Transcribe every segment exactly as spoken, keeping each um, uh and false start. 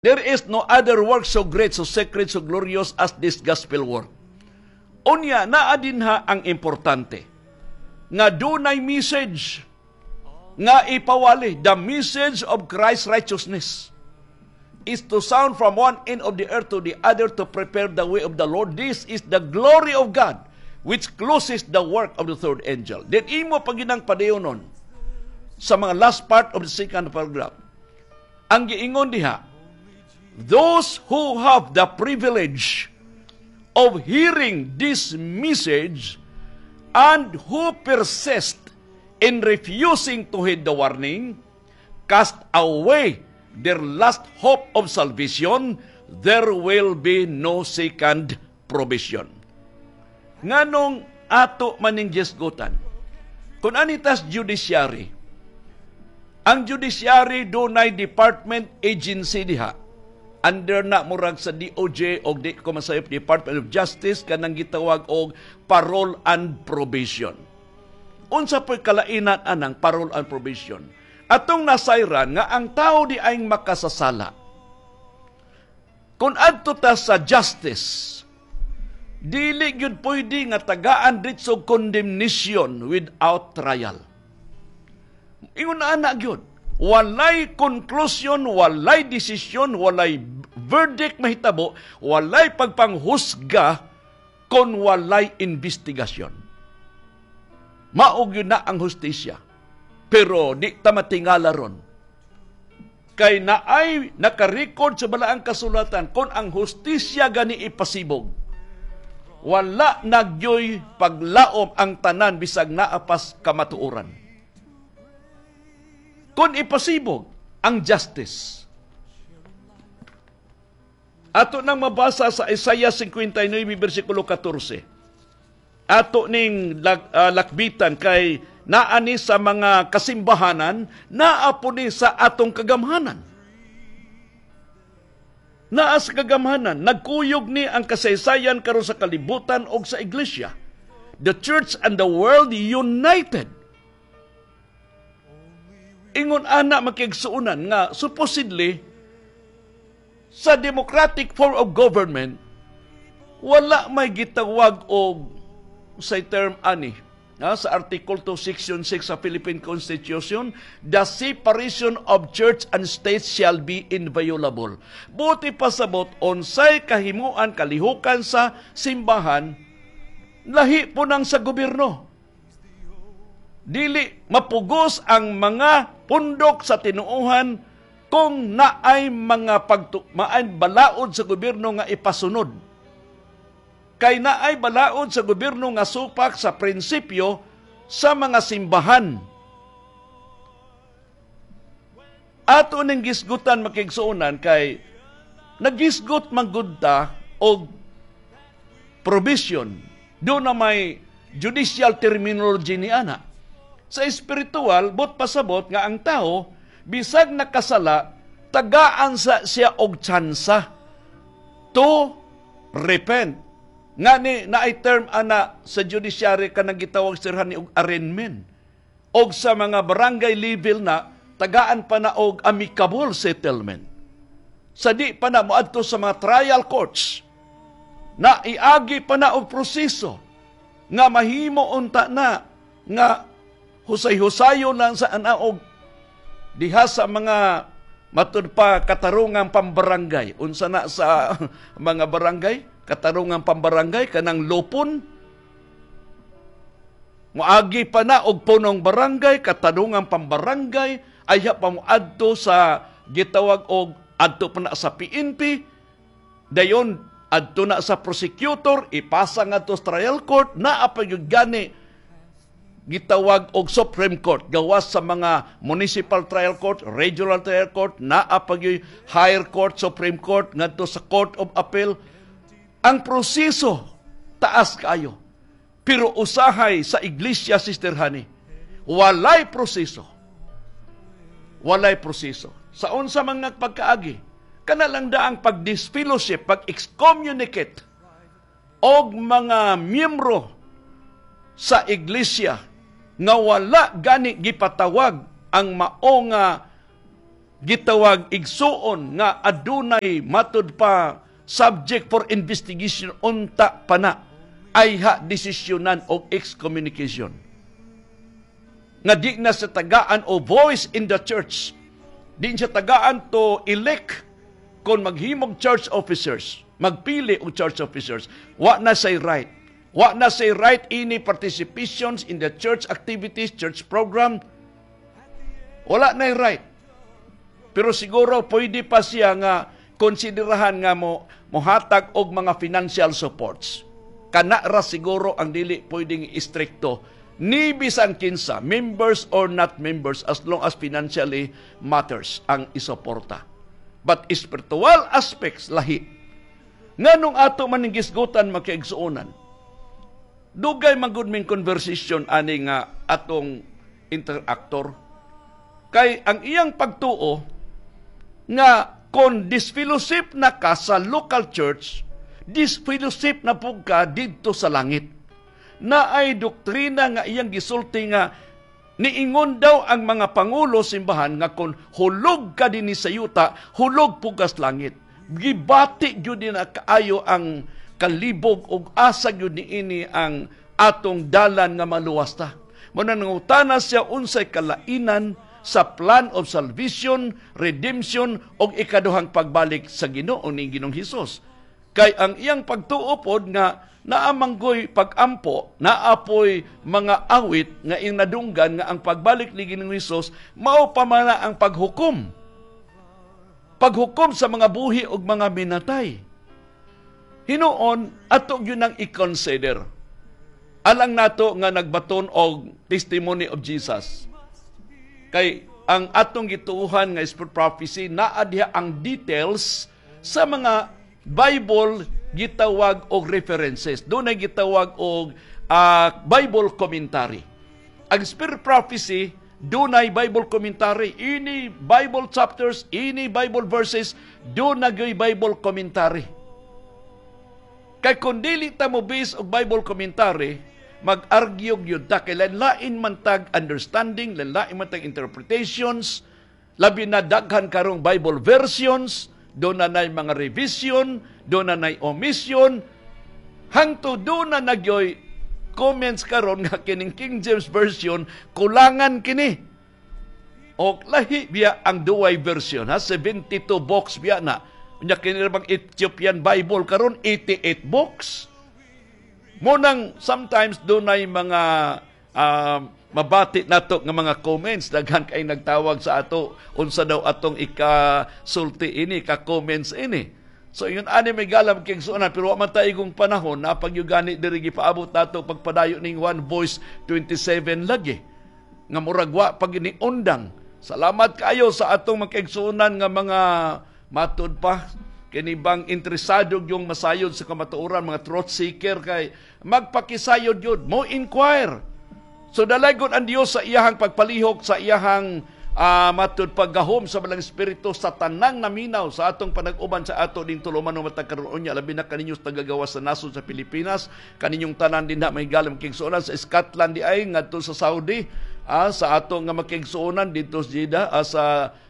There is no other work so great, so sacred, so glorious as this gospel work. Unya, naa dinha ang importante. Nga dunay message nga ipawali, the message of Christ's righteousness is to sound from one end of the earth to the other to prepare the way of the Lord. This is the glory of God which closes the work of the third angel. Then imo paginang padayonon sa mga last part of the second paragraph. Ang giingon diha, those who have the privilege of hearing this message and who persist in refusing to heed the warning, cast away their last hope of salvation, there will be no second probation. Nganong ato maning gisgutan? Kung anitas judiciary, ang judiciary dunay department agency diha under na murag sa D O J o di ko masayop, Department of Justice, kanang gitawag og parole and probation. Unsa po'y kalainan anang parole and probation? Atong nasayran nga ang tao di ay makasasala. Kung adto ta sa justice, dili gyud pwede nga tagaan diretso condemnation without trial. Ingon na ana gyud. Walay conclusion, walay desisyon, walay verdict mahitabo, walay pagpanghusga kung walay investigasyon. Mao gyud na ang hustisya. Pero di ta matingala ron. Kay naay nakarecord sa balaang kasulatan, kung ang hustisya gani ipasibog, wala nagyoy paglaom ang tanan bisag naa pas kamatuoran. Kung ipasibog ang justice. Ato nang mabasa sa Isaiah fifty-nine versikulo fourteen. Ato ning lak, uh, lakbitan kay naani sa mga kasimbahanan, naa po ni sa atong kagamhanan. Naa sa kagamhanan, nagkuyog ni ang kasaysayan karon sa kalibutan og sa iglesia. The church and the world united. Ingon ana, makigsuonan, nga supposedly sa democratic form of government wala may gitawag og sa term ani na sa Article two Section six sa Philippine Constitution, "The separation of church and state shall be inviolable." Buot pasabot, unsay kahimuan kalihukan sa simbahan lahi po nang sa gobyerno. Dili mapugos ang mga pundok sa tinuohan kung naay mga pagtu maay balaod sa gobyerno nga ipasunod. Kay naay balaod sa gobyerno nga supak sa prinsipyo sa mga simbahan. Ato ning gisgutan, makigsuonan, kay nagisgot man gud ta og provision do na may judicial terminology ni ana. Sa espiritual, buot pasabot nga ang tao bisag nakasala, tagaan sa siya og tsansa to repent. Nga ni naay term ana sa judiciary kanang gitawag sirhan ni og arraignment. Og sa mga barangay level na tagaan pa na og amicable settlement. Sa di pa na moadto sa mga trial courts na iagi pa na og proseso nga mahimo unta na nga husay-husayo lang sa ana og diha sa mga matud pa katarungang pambarangay. Unsa na sa mga barangay, katarungang pambarangay, kanang lupon, moagi pa na og punong barangay, katarungang pambarangay, ayha pa moadto sa gitawag og adto pa na sa P N P, dayon adto na sa prosecutor, ipasa ngadto sa trial court, naa pa gyud gani gitawag og Supreme Court gawas sa mga municipal trial court, regional trial court, naa pa gyud higher court, Supreme Court, ngadto sa Court of Appeal. Ang proseso taas kaayo. Pero usahay sa iglesia, Sister Honey, walay proseso. Walay proseso. Sa unsa mga pagkaagi, kana lang daang pag-disfellowship, pag-excommunicate og mga miyembro sa iglesia nga wala gani gipatawag ang mao nga gitawag igsuon nga adunay matud pa subject for investigation unta pa na ay ha desisyonan og excommunication nga di na sa tagaan o voice in the church di siya tagaan to elect kung maghimog church officers magpili og church officers wa na say right wa na say right any participations in the church activities church program wala na right pero siguro pwede pa siya nga konsiderahan nga mo mohatag og mga financial supports kana ra siguro ang dili pwedeng istrikto ni bisan kinsa members or not members as long as financially matters ang isuporta but spiritual aspects lahi nganong ato man ning gisgutan makiigsuonan dugay man gud ming conversation ani nga atong interactor kay ang iyang pagtuo nga kon disfellowship na ka sa local church disfellowship na pug ka didto sa langit na ay doktrina nga iyang gisulti nga niingon daw ang mga pangulo simbahan nga kon hulog ka dinhi sa yuta, hulog pug ka sa langit. Gibati gyud na kaayo ang kalibog ug asa gyud niini ang atong dalan nga maluwas ta. Mao na nangutana siya unsay kalainan sa plan of salvation, redemption ug ikaduhang pagbalik sa Ginoo ni Ginoong Hesus. Kay ang iyang pagtuo pod nga naamanggoy pagampo, naapoy mga awit nga iyang nadunggan nga ang pagbalik ni Ginoong Hesus mao pa man ang paghukom. Paghukom sa mga buhi ug mga minatay. Hinuon ato gyud nang i-consider. Alang nato nga nagbaton og testimony of Jesus. Kay ang atong gituohan nga spirit prophecy naa diha ang details sa mga Bible gitawag og references. Doon ay gitawag og uh, Bible commentary. Ang spirit prophecy dunay Bible commentary. Ini Bible chapters, ini Bible verses, doon na Bible commentary. Kay kung dili ta mo base og Bible commentary, mag-argue gyud ta kay lain man tag understanding, lain man tag interpretations, labi na daghan karong Bible versions, doon na nay mga revision, doon na nay omission, hangto doon na nagyoy comments karon nga kining King James Version kulangan kini. O lahi biya ang duway version ha seventy-two books biya na. Unya kini bang Ethiopian Bible karon eighty-eight books. Munang sometimes dunay mga uh, mabati nato nga mga comments daghan kay nagtawag sa ato unsa daw atong ikasulti ini ka comments ini. So yun ani may galam king suonan pero wa man ta igong panahon na pagyugani diri gipaabot nato pagpadayo ning One Voice twenty-seven lagi nga murag wa pag undang. Salamat kaayo sa atong makaigsuonan nga mga matud pa kini bang interesado yung masayod sa kamatuoran mga truth seeker kay magpakisayod yun mo inquire. So dalaygon ang Dios sa iyahang pagpalihok sa iyahang uh, matud paggahom sa balang espiritu sa tanang naminaw sa atong panag-uban sa ato ding tulumanon matag karon niya labi na kaninyo sa tagagawas sa nasod sa Pilipinas kaninyong tanan din na may galam kigsuonan sa Scotland di ay ngadto sa Saudi ah, sa ato nga makigsuonan didto sa Jeddah ah, sa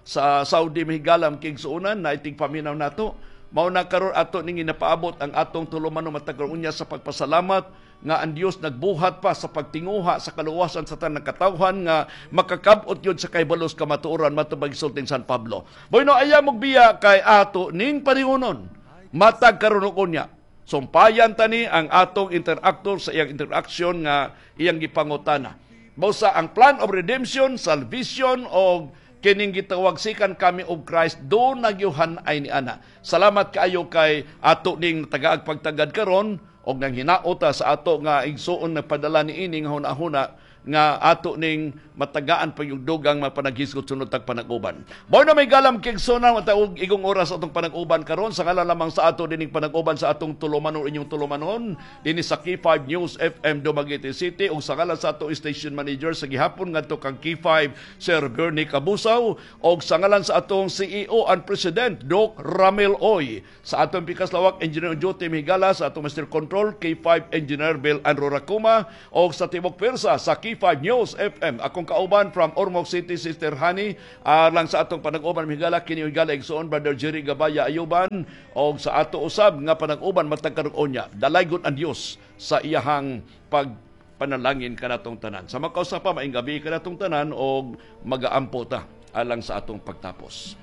sa Saudi mahigalam kigsuonan na iting paminaw nato. Mao na karon ato ning ginapaabot ang atong tulumanon matag karon sa pagpasalamat nga ang Dios nagbuhat pa sa pagtinguha sa kaluwasan sa tanang katawhan nga makakab-ot yun sa kahibalo sa kamatuoran matubag sulting San Pablo. Bueno, ayaw biya kay ato ning paniunon matag karon unya. Sumpayan tani ang atong interactor sa iyang interaction nga iyang gipangutana. Bausa ang plan of redemption, salvation og kining gitawag second coming of Christ do nagyuhan ay ni ana. Salamat kaayo kay ato ning tagaag pagtagad karon og nang hinaot sa ato nga igsuon nagpadala ni ini nga hunahuna nga ato ning matagaan pa yung dugang mapanaghisgot sunod tag panag-uban. Mao na may galam kig suna og igong oras atong panag-uban karon sa ngalan lamang sa ato dining panag-uban sa atong tulumanon inyong tulumanon dinhi sa K five News F M Dumaguete City ug sa ngalan sa ato station manager sa gihapon ngadto kang K five Sir Bernie Kabusaw og sa ngalan sa atong C E O and President Doc Ramil Oy sa atong pikas lawak Engineer Duty Mihigala sa atong Master Control K five Engineer Bill Andro Racuma og sa tibok persa sa K K five News F M. Akong kauban from Ormoc City, Sister Honey, alang sa atong panag-uban higala kini higala igsoon Brother Jerry Gabaya Ayuban og sa ato usab nga panag-uban matag karong unya. Dalaygon ang Dios sa iyahang pag panalangin kanatong tanan. Sa makausa pa, maayong gabii kanatong tanan og magaampo ta alang sa atong pagtapos.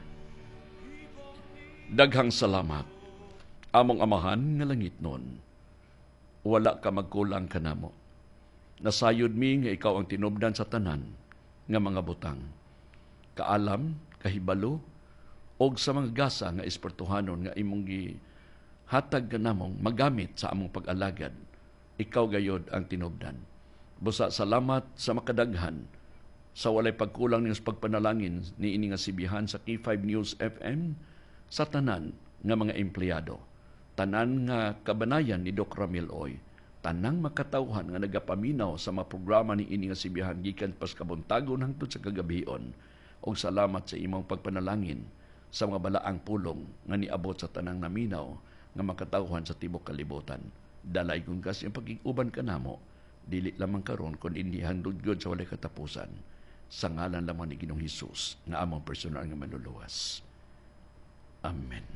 Daghang salamat, among Amahan nga langitnon. Wala ka magkulang kanamo. Nasayod mi nga ikaw ang tinubdan sa tanan nga mga butang. Kaalam, kahibalo, og sa mga gasa nga espertuhanon nga imong gihatag kanamong magamit sa among pag-alagad. Ikaw gayod ang tinubdan. Busa salamat sa makadaghan sa walay pagkulang ninyo sa pagpanalangin ni ini nga sibihan sa K five News F M, sa tanan nga mga empleyado, tanan nga kabanayan ni Doc Ramil Oy, tanang makatawhan nga nagapaminaw sa mga programa ni ini nga sibihan gikan pas kabuntagon hangtod sa kagabion. Og salamat sa imong pagpanalangin sa mga balaang pulong nga niabot sa tanang naminaw nga makatawhan sa tibok kalibutan. Dalaygon ka sa iyong pagig-uban kanamo, dili lamang karon kun indi hangtod gyud sa walay katapusan. Sa ngalan lamang ni Ginoong Hesus nga among personal nga Manluluwas. Amen.